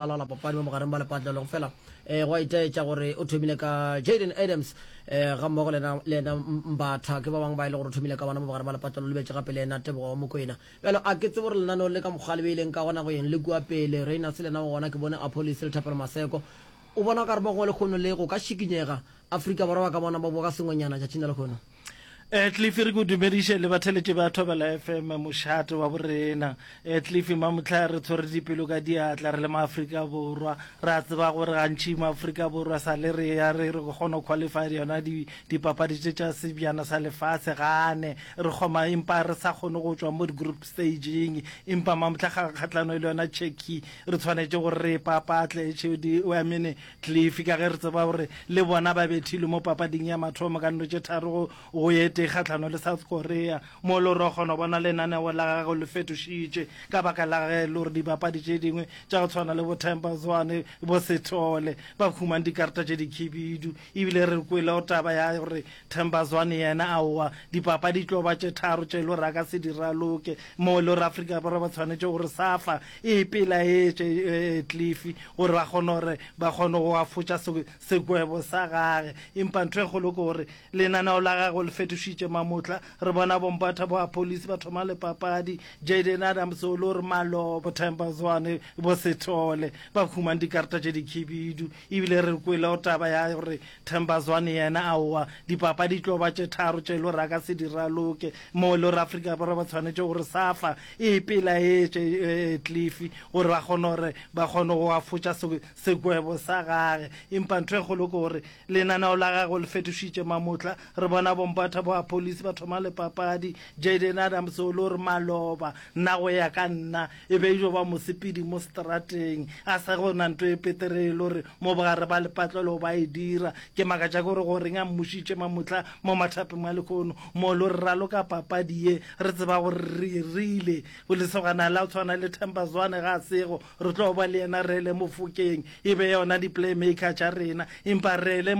Laola papadi mo bogareng ba lepatlelo go fela um go a itaetša gore o thomile ka Jayden Adams um ga mmogo le yena Mbatha ke ba bangwe ba e le gore o thomile ka bona mo bogareng ba lepatlelo lebetše gape le yena Tebogo wa Mokwena. Bjalo a ke tsebe gore lenaneo le ka mokgwa le beileng ka gona go yeng le kua pele Rayners le yena o gona ke bone Appollis le Thapelo Maseko o bona o ka re mo gongwe lekgono le go ka šikinyega Afrika Borwa ba ka bona ba boa ka sengwenyana tšatšing la lekgono. Eh, Cliff re go dumediše le batheletši ba Thobela FM mošate wa borena. Eh, Cliff mamotlha re tshwere dipelo ka diatla re le maAfrika Borwa. Re a tseba gore gantši maAfrika Borwa sa le re ya re re kgona go qualify yona di dipapadi tše tša sebjana sa lefase gane re kgoma empa re sa kgone go tšwa mo di-group stageng empa mamotlha kgatlano e le yona Turkey re tshwanetše gore re e papatle I mean Cliff, ka ge re tseba gore le bona ba bethilwe mo papading ya mathomo ka nno tše tharo go e tee kgahlano le South Korea, mo le gore o kgona go bona lenaneo la gagwe le fetošitše ka baka la ge le gore dibapadi tše dingwe tša go tshwana le bo Themba Zwane, bo Sithole ba humane dikarata tše dikhibidu. Ebile re kwele go taba ya gore Themba Zwane yena aowa, dipapadi tlo ba tše tharo tše e le gore a ka se di raloke, mo e le gore Afrika Borwa ba tshwanetše gore SAFA e ipelaetše Cliff gore ba kgone gore ba kgone go afotša sekwebo sa gage. Empa ntho e kgolo ke gore lenaneo la gagwe le fetošitše mamotla. Re bona bompatha bo Appollis ba thoma le papadi, Jayden Adams o le gore maloba, Themba Zwane, bo Sithole ba humane dikarata tše dikhibidu. Ebile re kwele go taba ya gore Themba Zwane yena aowa, dipapadi tlo ba tše tharo tše e le gore a ka se di raloke, mo e le gore Afrika Borwa ba tshwanetše gore SAFA e ipelaetše Cliff gore ba kgone gore ba kgone go afotša sekwebo sa gage. Empa ntho e kgolo ke gore lenaneo la gagwe le fetošitše mamotla. Re bona bompatha bo Appollis ba thoma le papadi, Jayden Adams o le gore maloba nna go ya ka nna e be e jo ba mosepedi mo seterateng a sa go na nto e petere e le gore mo bogare ba lepatlelo ba e dira. Ke makatša ke gore goreng a mmušitše mamotla mo mathapeng a lehono mo lo re raloka papadi ye re tseba gore re rile lesogana la tshwana le Themba Zwane ga a sego re tlo ba le yena Rele Mofokeng e be yona di-playmaker tša rena empa Rele.